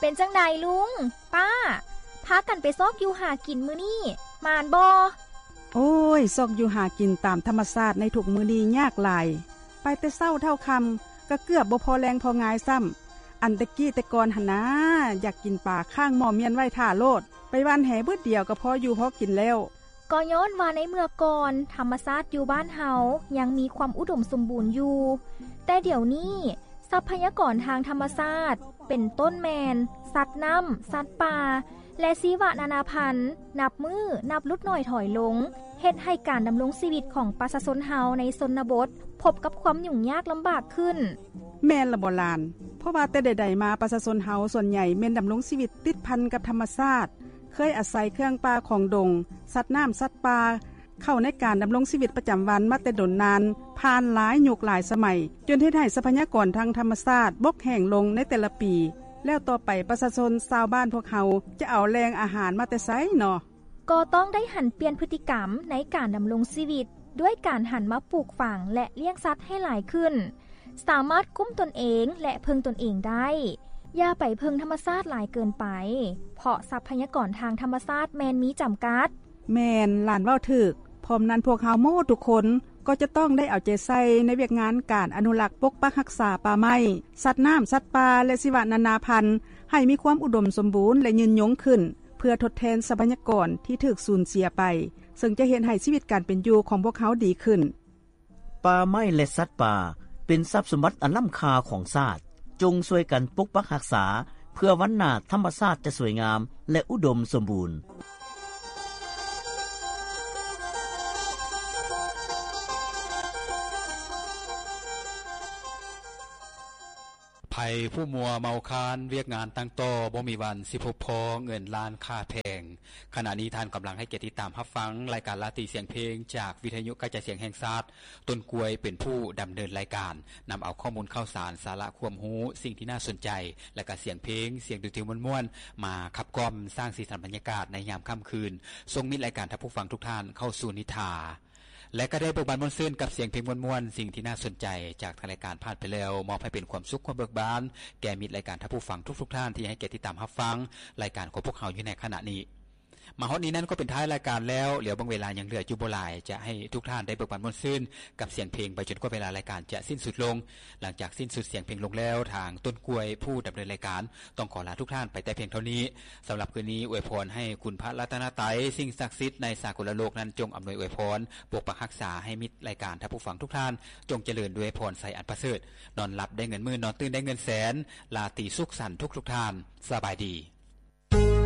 ປັນຈັ່ງໃດລຸງ, ປ້າ, ພາກັນໄປຊອກຢູ່ຫາກິນມື້ນີ້ ໝານບໍ່? ໂອ້ຍ, ຊອກຢູ່ຫາກິນຕາມທຳມະຊາດໃນທຸກມື້ນີ້ຍາກຫຼາຍ. ໄປແຕ່ເຊົ້າເທົ່າຄ່ຳ ກໍເກືອບບໍ່ພໍແລງພໍງາຍຊ້ຳ. ອັນແຕ່ກີ້ແຕ່ກ່ອນຫັ້ນນາ, ຢາກກິນປາຄ້າງໝໍ້ມ້ຽນໄວ້ຖ້າໂລດ, ໄປຫວ່ານແຫບຶດດຽວກໍພໍຢູ່ພໍກິນແລ້ວ. ກໍຍ້ອນວ່າໃນເມື່ອກ່ອນ ທຳມະຊາດຢູ່ບ້ານເຮົາຍັງມີຄວາມອຸດົມສົມບູນຢູ່, ແຕ່ດຽວນີ້ ຊັບພະຍາກອນທາງທຳມະຊາດ ເປັນຕົ້ນແມ່ນສັດນ້ຳ, ສັດປ່າ ແລະ ຊີວະນານາພັນ ນັບມື້ນັບຫຼຸດໜ້ອຍຖອຍລົງ, ເຮັດໃຫ້ການດຳລົງຊີວິດຂອງປະຊາຊົນເຮົາໃນຊົນນະບົດ ພົບກັບຄວາມຫຍຸ້ງຍາກລຳບາກຂຶ້ນ. ແມ່ນລະບໍຫຼານ? ເພາະວ່າແຕ່ໃດໆມາ ປະຊາຊົນເຮົາສ່ວນໃຫຍ່ແມ່ນດຳລົງຊີວິດຕິດພັນກັບທຳມະຊາດ, ເຄີຍອາໄສເຄື່ອງປ່າຂອງດົງ, ສັດນ້ຳ, ສັດປ່າ ເຂົ້າໃນການດຳລົງຊີວິດປະຈຳວັນມາແຕ່ດົນນານ, ຜ່ານຫຼາຍຍຸກຫຼາຍສະໄໝ, ຈົນເຮັດໃຫ້ຊັບພະຍາກອນທາງທຳມະຊາດບົກແຫ້ງລົງໃນແຕ່ລະປີ, ແລ້ວຕໍ່ໄປປະຊາຊົນຊາວບ້ານພວກເຮົາຈະເອົາແຫຼ່ງອາຫານມາແຕ່ໃສເນາະ? ກໍຕ້ອງໄດ້ຫັນປ່ຽນພຶດຕິກຳໃນການດຳລົງຊີວິດ ດ້ວຍການຫັນມາປູກຝັງ ແລະ ລ້ຽງສັດໃຫ້ຫຼາຍຂຶ້ນ, ສາມາດກຸ້ມຕົນເອງ ແລະ ເພິ່ງຕົນເອງໄດ້. ຢ່າໄປເພິ່ງທຳມະຊາດຫຼາຍເກີນໄປ, ເພາະຊັບພະຍາກອນທາງທຳມະຊາດແມ່ນມີຈຳກັດ. ແມ່ນ, ຫຼານເວົ້າຖືກ. ພ້ອມນັ້ນ, ພວກເຮົາໝົດທຸກຄົນກໍຈະຕ້ອງໄດ້ເອົາໃຈໃສ່ໃນວຽກງານການອະນຸລັກປົກປັກຮັກສາປ່າໄມ້, ສັດນ້ຳ, ສັດປ່າ ແລະ ຊີວະນານາພັນ ໃຫ້ມີຄວາມອຸດົມສົມບູນ ແລະ ຍືນຍົງຂຶ້ນ, ເພື່ອທົດແທນຊັບພະຍາກອນທີ່ຖືກສູນເສຍໄປ, ເຊິ່ງຈະເຮັດໃຫ້ຊີວິດການເປັນຢູ່ຂອງພວກເຮົາດີຂຶ້ນ. ປ່າໄມ້ ແລະ ສັດປ່າ ເປັນຊັບສົມບັດອັນລ້ຳຄ່າຂອງຊາດ. ຈົ່ງຊ່ວຍກັນປົກປັກຮັກສາ, ເພື່ອວັນໜ້າທຳມະຊາດຈະສວຍງາມ ແລະ ອຸດົມສົມບູນ. ໃຜຜູ້ມົວເມົາຄານວຽກງານຕັ້ງຕໍ່ ບໍ່ມີວັນຊິພົບພໍ້ເງິນລ້ານຄ່າແພງ. ຂະນະນີ້ທ່ານກຳລັງໃຫ້ກຽດຕິດຕາມຮັບຟັງລາຍການລາຕີສຽງເພງ ຈາກວິທະຍຸກະຈາຍສຽງແຫ່ງຊາດ. ຕົ້ນກ້ວຍເປັນຜູ້ດຳເນີນລາຍການ, ນຳເອົາຂໍ້ມູນຂ່າວສານ, ສາລະຄວາມຮູ້, ສິ່ງທີ່ໜ້າສົນໃຈ ແລະ ກະສຽງເພງ, ສຽງດົນຕີມ່ວນໆ ມາຂັບກ່ອມສ້າງສີສັນບັນຍາກາດໃນຍາມຄ່ຳຄືນ, ສົ່ງມິດລາຍການທ່ານຜູ້ຟັງທຸກທ່ານເຂົ້າສູ່ນິທາ ແລະ ກໍໄດ້ເບີກບານມ່ວນຊື່ນກັບສຽງເພງມ່ວນໆ, ສິ່ງທີ່ໜ້າສົນໃຈຈາກທາງລາຍການຜ່ານໄປແລ້ວ, ມອບໃຫ້ເປັນຄວາມສຸກຄວາມເບີກບານແກ່ມິດລາຍການທ່ານຜູ້ຟັງທຸກໆທ່ານທີ່ໃຫ້ກຽດຕິດຕາມຮັບຟັງລາຍການຂອງພວກເຮົາຢູ່ໃນຂະນະນີ້. ມາຮອດນີ້ນັ້ນກໍເປັນທ້າຍລາຍການແລ້ວ, ເຫຼືອເບິ່ງເວລາຍັງເຫຼືອຢູ່ບໍ່ຫຼາຍ, ຈະໃຫ້ທຸກທ່ານໄດ້ເບີກບານມ່ວນຊື່ນກັບສຽງເພງໄປຈົນກວ່າເວລາລາຍການຈະສິ້ນສຸດລົງ. ຫຼັງຈາກສິ້ນສຸດສຽງເພງລົງແລ້ວ, ທາງຕົ້ນກ້ວຍຜູ້ດຳເນີນລາຍການ ຕ້ອງຂໍລາທຸກທ່ານໄປແຕ່ພຽງເທົ່ານີ້. ສຳລັບຄືນນີ້ ອວຍພອນໃຫ້ຄຸນພະລັດຕະນະໄຕ, ສິ່ງສັກສິດໃນສາກົນລະໂລກນັ້ນ ຈົ່ງອຳນວຍອວຍພອນ, ປົກປັກຮັກສາໃຫ້ມິດລາຍການທ່ານຜູ້ຟັງທຸກທ່ານ ຈົ່ງຈະເລີນດ້ວຍພອນໄຊອັນປະເສີດ, ນອນຫຼັບໄດ້ເງິນໝື່ນ, ນອນຕື່ນໄດ້ເງິນແສນ. ລາຕີສຸກສັນທຸກໆທ່ານ. ສະບາຍດີ.